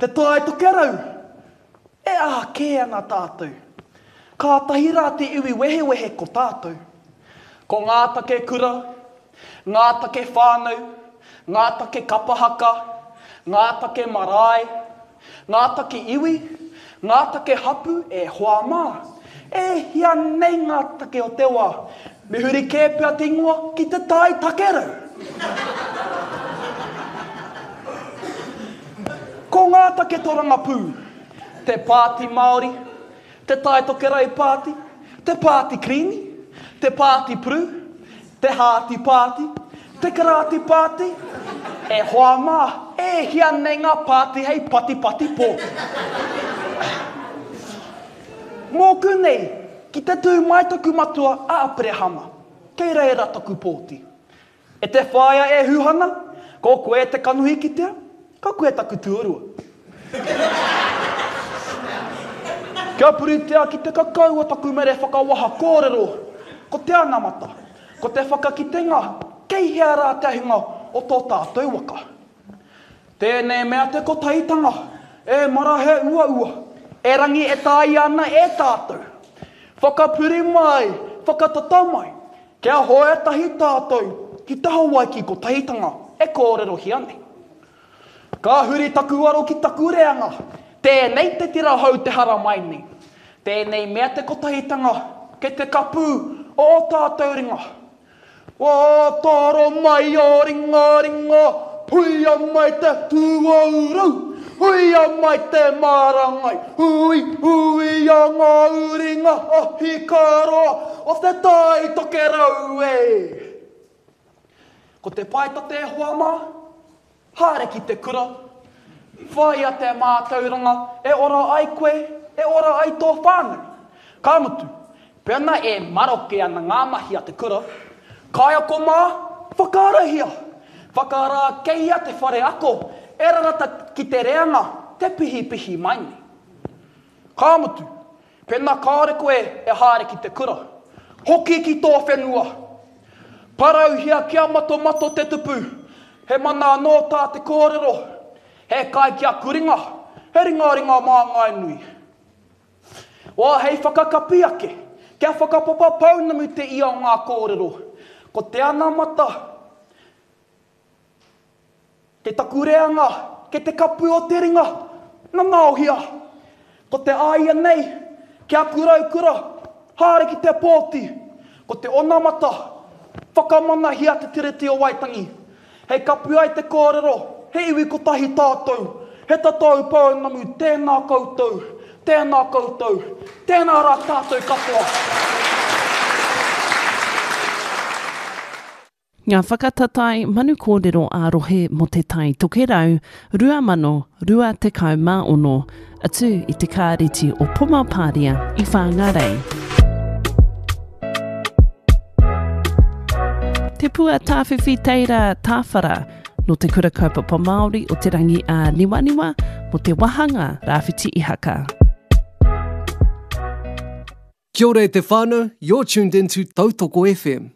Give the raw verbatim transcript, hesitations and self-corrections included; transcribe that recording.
Te Tai Tokerau, e aha kē ana tātou? Kātahi rā te iwi wehewehe ko tātou. Ko ngā take kura, ngā take whānau, ngā take kapa haka, ngā take marae, ngā take iwi, ngā take hapu e hoa mā. E hia nei ngā take o te wā? Me huri kē pea te ingoa ki Te Tai Takerau. Ko ngā take torangapū, te Pāti Māori, te Tai Tokerau Pāti, te Pāti Kirīmi, te Pāti Puru, te Hāti Pāti, te Karāti Pāti, e hoa mā, e hia nei ngā pāti hei patipati pōti. Mōku nei, ki te tū mai taku matua a Aperehama, kei reira taku pōti. E te whaea e Huhana, ko koe te kanohi kitea, ko koe taku tuarua. Kia puritia ki te kakau o taku mere whakawaha kōrero, ko te anamata, ko te whakakitenga kei hea rā te ahinga o tō tātou waka. Tēnei mea te kotahitanga, e mara he uaua, erangi e tāia ana e tātou. Whakapuri mai, whakatata mai, kia hoe tahi tātou ki te Hawaiki kotahitanga e kōrerohia nei. Ka huri taku aro ki taku reanga, tēnei te tira hou te haramai nei. Tēnei mea te kotahitanga kei te kapū o ō tātou ringa. Wā toro mai ō ringaringa, huia mai te tuauru, huia mai te marangai, hui, huia ngā uringa ahikāroa o te Tai Tokerau e. Ko te paetate e hoa mā, haere ki te kura, whāia te mātauranga e ora ai koe, e ora ai tō whānau. Ka mutu, pēnā e maroke ana ngā mahi a te kura, kaiako mā, whakaarahia, whakarākeia te whare ako e rarata ki te reanga te pihipihi mai nei. Ka mutu, pēnā kāore koe e haere ki te kura, hoki ki tō whenua. Parauhia kia matomato te tupu, he mana anō tā te kōrero, he kai ki aku ringa, he ringaringa māngai nui. Wā hei whakakapi ake, kia whakapapa pounamu te ia o ngā kōrero, ko te anamata, kei taku reanga, kei te kapu o te ringa, nanaohia. Ko te āia nei, ki aku raukura, haere ki te pōti, ko te onamata, whakamanahia te Tiriti o Waitangi. Hei kapi ai te kōrero, he iwi kotahi tātou, he tatau pounamu, tēnā koutou, tēnā koutou, tēnā rā tātou katoa. Ngā whakatatae manu kōrero ā-rohe mō Te Tai Tokerau rua mano rua tekau mā ono, atu i te Kāreti o Pomapāria i Whāngārei. Te Pua Tāwhiwhi Teira Tāwhara nō Te Kura Kaupapa Māori o Te Rangi ā-Niwaniwa mō te wāhanga Rāwhiti Ihaka. Kia ora e te whānau, you're tuned into Tautoko F M.